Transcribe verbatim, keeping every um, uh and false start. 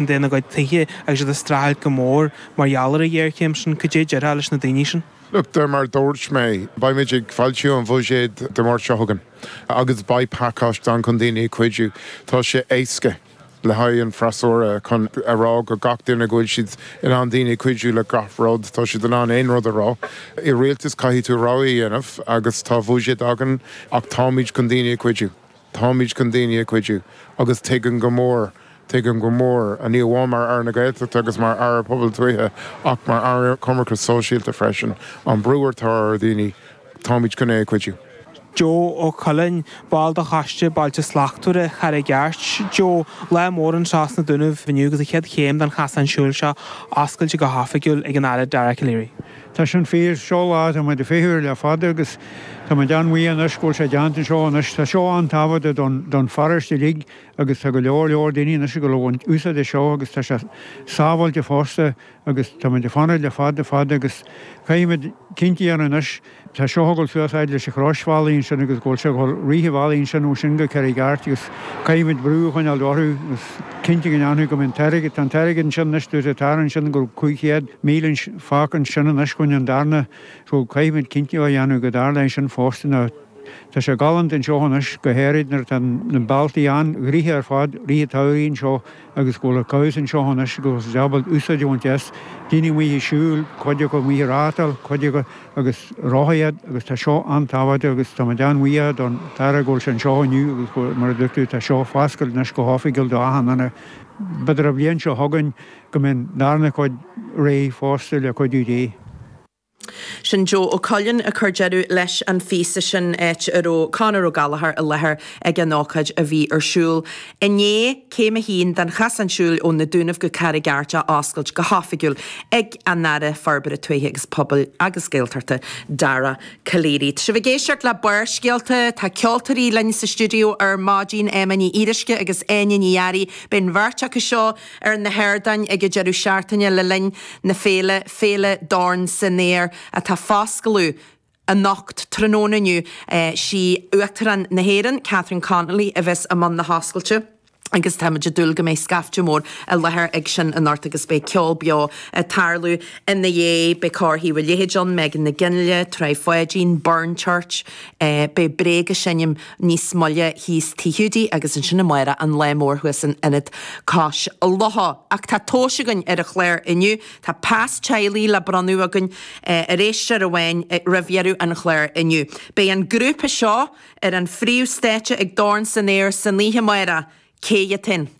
ina gcuid tithe agus iad ag streachailt go mór mar gheall ar an ghéarchéim sin, cad é a déarfá leis na daoine sin? Look, de mar dúirt mé, beimid ag foilsiú an bhuiséid Dé Máirt seo chugainn agus beidh pacáiste ann chun daoine a chuidiú. Tá sé éasca le haghaidh an freasúra chun a rá go gach duine go bhfuil siad in ann daoine cuidiú le gach rud, tá siad in ann aon rud a rá. I rialtas caithfidh tú rogha a dhéanamh agus tá buiséad againn ach táimid chun daoine a chuidiú. Táimid chun daoine a chuidiú agus tuigim go mór tuigim go mór ní amháin mar Aire na Gaeltachta agus mar Aire Pobail Tuaithe ach mar Aire Coimirce Sóisialta freisin an brú atá ar daoine táimid chun é a chuidiú. Joe Ó Coileáin, ball de Choiste Bailte Slachtmhara Charraig Airt. Joe, lá mór anseo sna Dúnaibh inniu agus an chéad chéim den chasán siúil seo oscailte go hoifigiúil ag an Aire Dara Calleary. Tá sin fíor seo lá tá muid ag feitheamh le fada agus tá muid an-bhuíoch anois go bhfuil sé déanta anseo anois tá seo an-tábhachtach don don pharóiste uilig agus tá go leor leor daoine anois go bhfuil úsáid as seo agus tá sé sábháilte fosta agus tá muid ag fanacht le fada fada agus caithfimid cinnte a dhéanamh anois tá seo ag dul suas fhad leis an chrosbhealaí ansin agus go bhfuil sé ag rith an bhealaigh ansin ó sin go Carraig Airt agus caithfimid brú a choinneáil orthu agus cinnte go ndéanfaidh go mbeidh an t-airgead tá an t-airgead ansin anois dúirt an tAire ansin go raibh cúig chéad míle fágtha ansin anois chun an darna so caithfimid cinnte a dhéanamh go dtarlóidh sin fosta nó tá sé galánta anseo anois go háirid nuair atá na bealtaí an-ghnoitheach ar fad rith an tsamhraidh anseo agus go bhfuil an cabhsa anseo anois go bhfuil siad ábalta úsáid a bhaint as daoine amuigh ag siúl cuid acu amuigh ag rátáil cuid acu agus rothaíocht agus tá seo an-tábhachtach agus tá muid an-bhuíoch don tAire go bhfuil sé anseo inniu agus go mar a dúirt tú tá seo foscailte anois go hoifigiúil do achan duine. B'fhéidir an bhliain seo chugainn go mbeidh an darna cuid réidh fosta le cuidiú Dé. Sin Joe Ó Coileáin ag cur deireadh leis an phíosa sin áit a raibh Conor Ó Gallchóir i láthair ag an ócáid a bhí ar siúl inné céim a haon den chasán siúil ó na Dúnaibh go Carraig Airt á oscailt go hoifigiúil ag an Aire Forbartha Tuaithe agus Pobail agus Gaeltachta Dara Calleary. Tá sibh ag éisteacht le Barrscéalta, tá ceoltóirí linn sa stiúideo ar maidin Emma Ní Fhíoruisce agus Áine Ní Fhearraigh, beidh an bheirt acu seo ar na hardáin ag an deireadh seachtaine le linn na féile Féile Dorn san Aer atá foscladh anocht tráthnóna inniu sí Uachtarán na hÉireann, Catherine Connolly a bheas i mbun na hoscailte. Agus táimid ag dúil go mbeidh scaifte mór i láthair ag sin anocht agus beidh ceol beo ag tarlú ina dhiaidh, beidh Cór Thaobh an Leithéid ann, Megan Nic Fhionnghaile, Tribe Pháidín, Burren Church, beidh Bréag ag seinm níos moille thíos Tigh Hiúdaí agus ansin amárach an lá mór thuas in Ionad Cois Locha. Ach tá tomhais againn ar an chlár inniu, tá pas teaghlaigh le bronnadh againn ar éisteoir amháin roimh dheireadh an chláir inniu. Beidh an grúpa seo ar an phríomhstáitse ag Dorn san Aer san oíche amárach. Cé hiad?